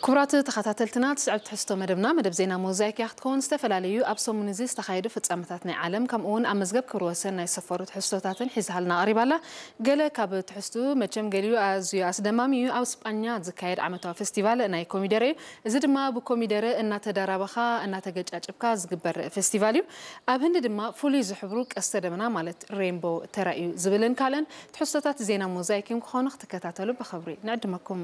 ክቡራት ተኸታተልትና፣ ትስዕብ ትሕዝቶ መደብና፣ መደብ ዜና ሞዛይክ እያ ክትከውን። ዝተፈላለዩ ኣብ ሰሙን እዚ ዝተኻየዱ ፍጻመታት ናይ ዓለም፣ ከምኡ እውን ኣብ መዝገብ ክብሪ ወሰን ናይ ሰፈሩ ትሕዝቶታትን ሒዛሃልና ቀሪባላ። ገለ ካብ ትሕዝቱ መቸም ገሊኡ ኣዝዩ ኣስደማሚ እዩ። ኣብ ስጳኛ ዝካየድ ዓመታዊ ፌስቲቫል ናይ ኮሚደረ እዩ። እዚ ድማ ብኮሚደረ እናተዳራበኻ እናተገጫጭብካ ዝግበር ፌስቲቫል እዩ። ኣብ ህንዲ ድማ ፍሉይ ዝሕብሩ ቀስተ ደመና ማለት ሬንቦ ተራእዩ ዝብልን ካልእን ትሕዝቶታት ዜና ሞዛይክ እዮም ክኾኑ። ክትከታተሉ ብኽብሪ ንዕድመኩም።